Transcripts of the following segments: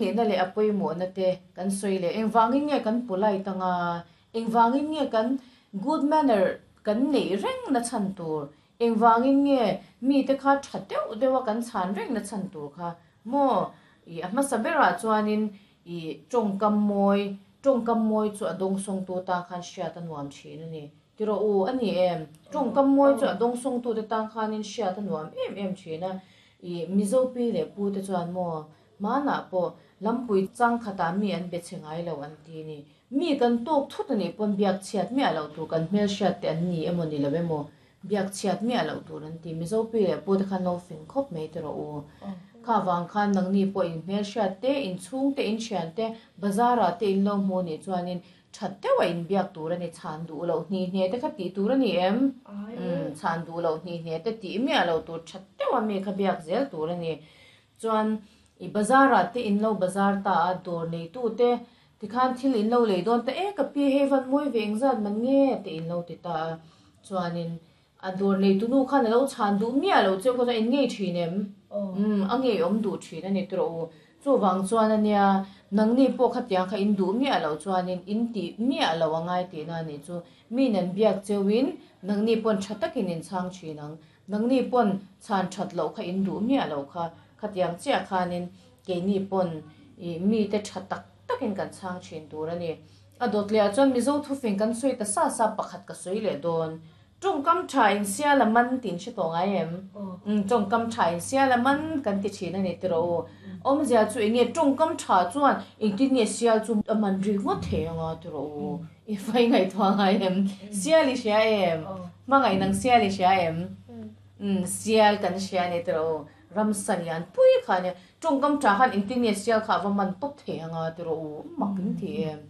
Nihna leh a pawimawhna te kan sawi leh engvangin nge kan polite anga, engvangin nge kan good manner kan neih reng na chhan tur, engvangin nge mite kha tha deuh deuh a kan chhan reng na chhan tur kha maw ih a hmasa berah chuanin ih tawngkam mawi, tawngkam mawi chu a dawngsawngtu tan khan hriat a nuam thin a ni. Ti rawh u, a ni em? Tawngkam mawi chu a dawngsawngtute tan khanin hriat a nuam em em thin a, ih Mizo pi leh pu te chuan maw Hmanah pawh lampui chang khatah mi an be chhe ngai lo an ti ni. Mi kan tawk thut a nih pawn biak chhiat miah loh tur kan hmelhriat te an ni emaw ni lo emaw biak chhiat miah loh tur an ti. Mizo pi leh pu te khan lo fing khawp mai ti rawh u. Kha vang khan nangni pawh in hmelhriat te, in chhung te, in thian te, bazar ah te in lo hmu nih chuanin that deuh a in biak tur a ni. Chhan duh loh hni hne te kha tih tur a ni em? Umm chhan duh loh hni hne te tih miah loh tur that deuh a mi kha biak zel tur a ni. Chuan i bazar ah te in lo bazar ta a, dawr neitu te tikhan thil in lo lei dawn ta e ka pi hei van mawi ve engzat man nge te in lo ti ta a, chuanin a dawr neitu nu khan a lo chhan duh miah lo cheu kha chuan in ngei thin em? Umm a ngei awm duh thin a ni tawh u. Chuvang chuan ania nangni pawh khatiang kha in duh miah loh chuanin in tih miah lo a ngai tihna a nih chu. Mi nan biak cheuin nangni pawn tha takin in chhang thin ang. Nangni pawn chhan that loh kha in duh miah lo kha, khatiang chiah khanin keini pawn ih mite tha tak takin kan chhang thin tur a ni. A dawt leh ah chuan Mizo thufing kan sawi ta sa sa pakhat ka sawi leh dawn. Tawngkam tha in sial a man tih in hre tawh ngai em? Umm tawngkam tha in sial a man kan ti thin a ni tiraw u. Awmzia chu enge tawngkam tha chuan engtin nge sial chu a man rik ngawt thei anga tiraw u. I fai ngaihtuah ngai em? Sial i hria em? Hmangaih nang sial i hria em? Umm, sial kan hria a ni tiraw u. Ramsa lian pui kha a nia. Tawngkam tha khan engtin nge sial kha a va man tawp thei anga tiraw u. Mak in ti em?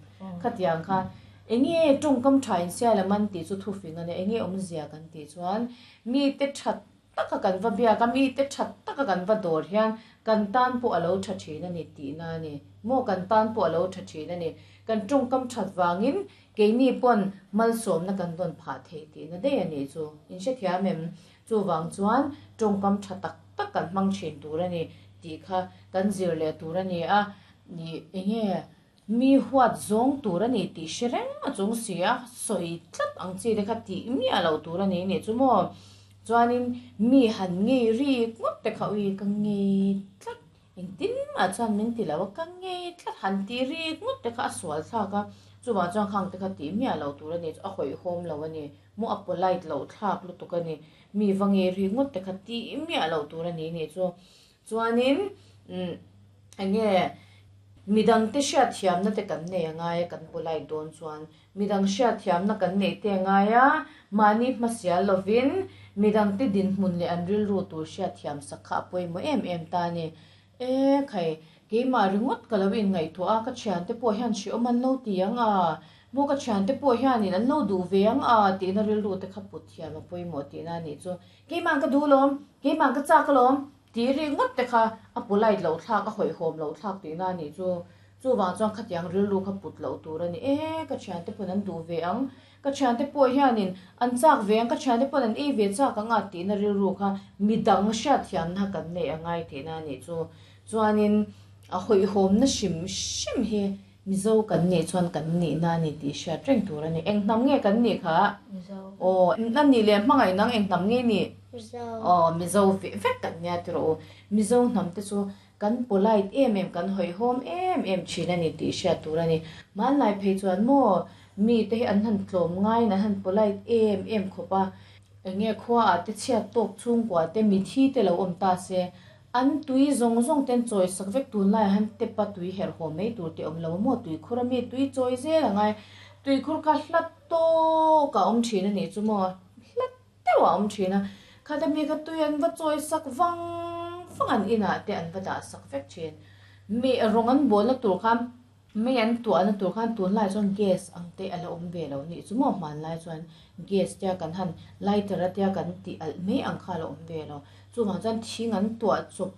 Khatiang khan enge tawngkam tha in sial a man tih chu thufing a nia. Enge awmzia kan tih chuan mite that taka kan va biak a, mite that taka kan va dawr hian kan tan pawh a lo tha thin a ni tihna a ni. Maw kan tan pawh a lo tha thin a ni. Kan tawngkam that vangin keini pawn malsawmna kan dawn phah thei tihna daih a nih chu. In hrethiam em? Chuvang chuan tawngkam tha tak tak kan hmang thin tur a ni tih kha kan zir leh tur a ni a. Nih enge Mi huat zawng tur a ni tih hre reng a chung si a, sawi tlat ang chi te kha tih miah loh tur a ni nih chu maw. Chuanin mi han ngei rik ngawt te kha ui ka ngei tlat, engtin mah chuan min ti lo a, ka ngei tlat han tih rik ngawt te kha a sual thlak a, chuvang chuan khang te kha tih miah loh tur a ni chu a hawihhawm lo a ni, maw a polite loh thlak lutuk a ni, mi va ngei rik ngawt te kha tih miah loh tur a ni nih chu. Chuanin umm enge midangte hriatthiamna te kan nei a ngai a kan polite dawn chuan midang hriatthiamna kan neih te a ngai a, mahni hmasial lovin midangte dinhmun leh an rilru tur hriatthiam sak kha a pawimawh em em ta a ni. E khai, keimah ringawt ka lo inngaihtuah a, ka thiante pawh hian hreawm an lo ti ang a, maw ka thiante pawh hianin an lo duh ve ang a tihna rilru te kha put thiam a pawimawh tihna a nih chu. Keimah ka duh lawm, keimah ka chak alawm tih rik ngawt te kha a polite loh thlak, a hawihhawm loh thlak tihna a nih chu. Chuvang chuan khatiang rilru kha put loh tur a ni. E, ka thiante pawn an duh ve ang, ka thiante pawh hianin an chak ve ang, ka thiante pawn an ei ve chak ang a tihna rilru kha midang hriatthiamna kan neih a ngai tihna a nih chu. Chuanin a hawihhawmna hrim hrim hi Mizo kan nih chuan kan nihna a ni tih hriat reng tur a ni. Eng hnam nge kan nih kha? Mizo. Aw, a nih leh hmangaih nang eng hnam nge nih? Mizo. Aw, Mizo veh vek kan nia tiraw u. Mizo hnam te chu kan polite em em, kan hawihhawm em em thin a ni tih hriat tur a ni. Hmanlai phei chuan maw mi te hi an han tlawm ngaiin an han polite em em khawp a. Enge khua ah te chhiat tawk chhungkua te mithi te lo awm ta se An tui zawng zawng ten chawi sak vek tunlai ah hian tep a tui herh haw mai tur tih awm lo maw tuikhur a mi tui chawi zel a ngai tuikhur kha hla tawk a awm thin a nih chu maw hla deuh a awm thin a khata mi kha tui an va chawi sak vang vang an inah te an va dah sak vek thin mi rawng an bawlna tur khan Mei an tuahna tur khan tunlai chuan gas ang te a la awm ve lo nih chu maw hmanlai chuan gas tia kan han lighter a tia kan tih alh mai ang kha a la awm ve lo. Chuvang chuan thing an tuah chawp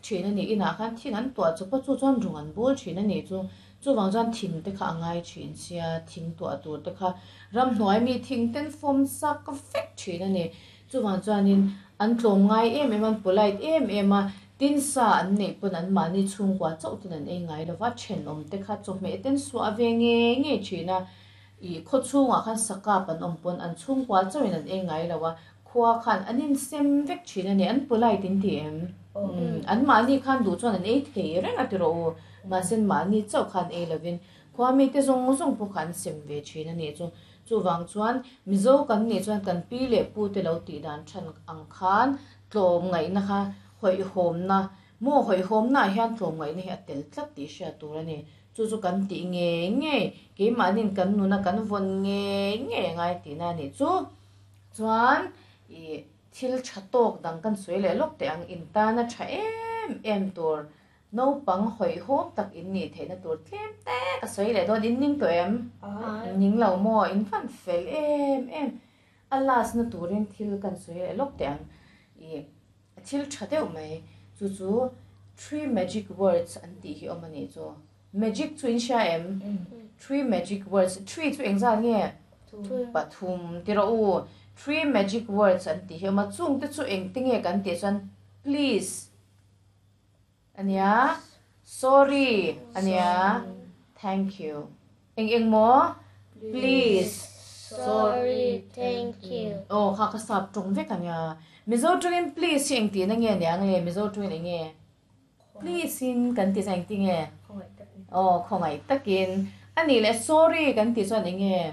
thin a nih inah khan thing an tuah chawp a chu chuan rung an bawl thin a nih chu. Chuvang chuan thing te kha a ngai thin sia thing tuah tur te kha ramhnuai mi thing ten fawm sak vek thin a ni. Chuvang chuanin an tlawm ngai em em a, an polite em em a. Tin sa an neih pawn an mahni chhungkua chauh ten an ei ngai lo va, thenawm te kha chawhmeh ten suah ve ngei ngei thin a, ih khaw chhungah khan sakap an awm pawn an chhungkua chauhin an ei ngai lo a, khua khan an insem vek thin a ni, an polite in ti em? Umm an mahni khan duh chuan an ei thei reng a ti rawh u, mahse mahni chauh khan ei lovin khua mite zawng zawng pawh kha an sem ve thin a nih chu. Chuvang chuan Mizo kan nih chuan kan pi leh pu te lo tih dan than ang khan tlawmngaihna kha hawihhawmna, maw hawihhawmna ah hian tlawmngaihna hi a tel tlat tih hriat tur a ni. Chu chu kan tih ngei ngei, keimahniin kan nuna kan vawn ngei ngei a ngai tihna a nih chu. Chuan ih thil tha tawk dang kan sawi leh lawk teh ang, intana tha em em tur Naupang hawihhawm tak in nih theihna tur tlem te ka sawi leh dawn, in ning tawh em? In ning lo maw? In fan fel em em. A last na turin thil kan sawi leh lawk teh ang. Ih thil tha deuh mai chu chu three magic words an tih hi awm a nih chu. Magic chu in hria em? Three magic words, three chu engzat nge? Pathum ti rawh u. Three magic words an tih hi awm a, chungte chu engte nge kan tih chuan please, Ania, sorry ania, thank you. Eng eng maw? Please, sorry, thank you. Aw kha ka sap tawng vek ania. Mizo tawngin please hi engtihna nge aniang le? Mizo tawngin eng nge? Please in kan tih chuan engti nge? Aw khawngaih takin. Anih leh sorry kan tih chuan eng nge?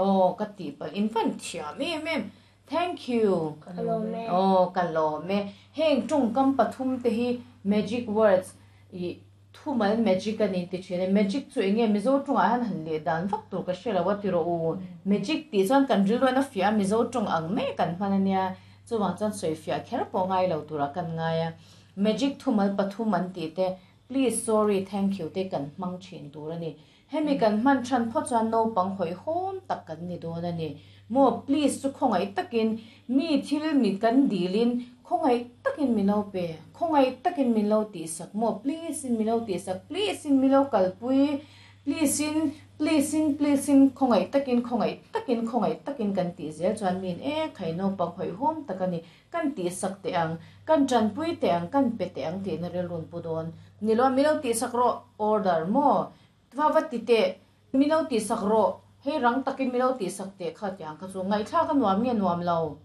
Aw ka tihpalh in fan thiam em em. Thank you. Ka lawm e. Aw, ka lawm e. Heng tawngkam pathum te hi magic words ih thumal magic a ni ti thin e. Magic chu enge Mizo tawngah hian han leh dan vak tur ka hre lo a ti rawh u. Magic tih chuan kan rilru hian a fiah a, Mizo tawng ang mai kan hman a nia. Chuvang chuan sawi fiah kher pawh ngai lo turah kan ngai a. Magic thumal pathum an tih te, please, sorry, thank you te kan hmang thin tur a ni. Hemi kan hman than phawt chuan naupang hawihhawm tak kan ni dawn a ni. Maw please chu khawngaih takin mi thil mi kan dilin khawngaih takin min lo pe, khawngaih takin min lo tihsak maw please in min lo tihsak, please in min lo kalpui, please in, please in, please in khawngaih takin, khawngaih takin, khawngaih takin kan tih zel chuan miin e khai naupang hawihhawm tak a ni, kan tihsak teh ang, kan tanpui teh ang, kan pe teh ang tihna rilrun pu dawn. Ni lo a min lo tihsak rawh order maw Va va ti teh, min lo tihsak rawh, hei rang takin min lo tihsak teh kha tiang kha chu ngaihthlak a nuam nge nuam lo?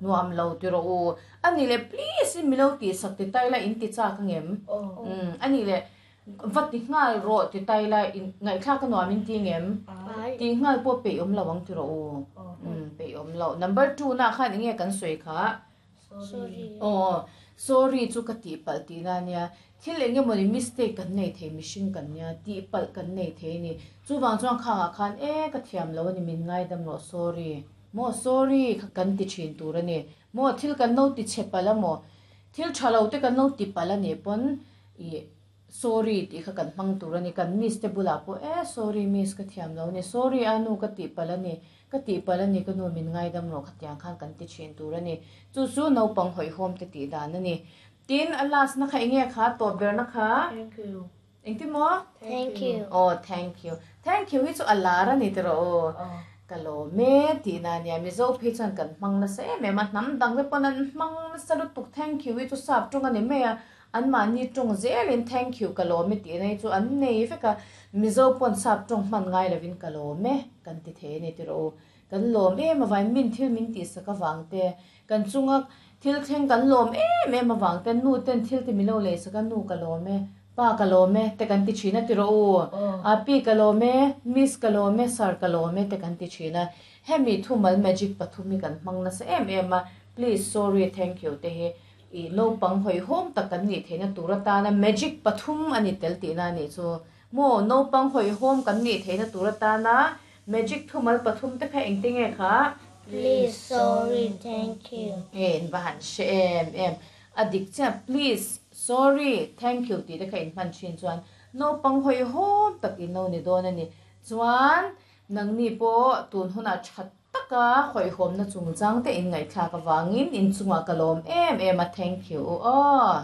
Nuam lo ti rawh u. A nih leh please in min lo tihsak ti tai la in ti chak ang em? Umm a nih leh va ti nghal rawh ti tai la in ngaihthlak a nuam in ti ngem? Ti nghal pawh peih awm lo ang ti rawh u. Umm peih awm lo. Number two nah khan enge kan sawi kha? Sorry. Aw, sorry chu ka tihpalh tihna a nia. Thil eng emawni mistake kan nei thei, mihring kan nia, tihpalh kan nei thei a ni. Chuvang chuan khangah khan e ka thiam lo a ni, min ngaidam rawh, sorry. Maw sorry kha kan ti thin tur a ni. Maw thil kan lo ti chhe palh a maw, thil tha lo te kan lo ti palh a nih pawn ih Sorry tih kha kan hmang tur a ni. Kan miss te bulah pawh e sorry miss ka thiam lo a ni, sorry a nu ka tihpalh a ni, ka tihpalh a ni ka nu min ngaidam rawh khatiang khan kan ti thin tur a ni. Chu chu naupang hawihhawm te tih dan a ni. Tin a last na kha enge kha tawp ber na kha? Thank you. Engtin maw? Thank you. Aw thank you. Thank you hi chu a lar a ni tiraw aw. Ka lawm e tihna a nia. Mizo phei chuan kan hmang nasa em em a, hnam dang te pawn an hmang nasa lutuk thank you hi chu sap tawng a ni mai a. Anmahni tawng zelin thank you ka lawm e tihna hi chu an nei vek a, Mizo pawn sap tawng hman ngai lovin ka lawm e kan ti thei a ni tiraw u. Kan lawm em avangin min thil min tihsak avang te, kan chunga thil thleng kan lawm em em avang te, nu ten thil ti min lo leisak a, nu ka lawm e, pa ka lawm e te kan ti thin a tiraw u. A pi ka lawm e, miss ka lawm e, sir ka lawm e te kan ti thin a. Hemi thumal magic pathum hi kan hmang nasa em em a, please, sorry, thank you te hi. I naupang hawihhawm tak kan nih theihna tur atana magic pathum a ni tel tihna a nih chu. Maw naupang hawihhawm kan nih theihna tur atana magic thumal pathum te kha engte nge kha? Please, sorry, thank you. Nge in va han hre em em. A dik chiah please, sorry, thank you tih te kha in hman thin chuan naupang hawihhawm tak in lo ni dawn a ni. Chuan nangni pawh tun hunah that Taka hawihhawmna chungchang te in ngaihthlak avangin inchungah ka lawm em em a thank you u aw.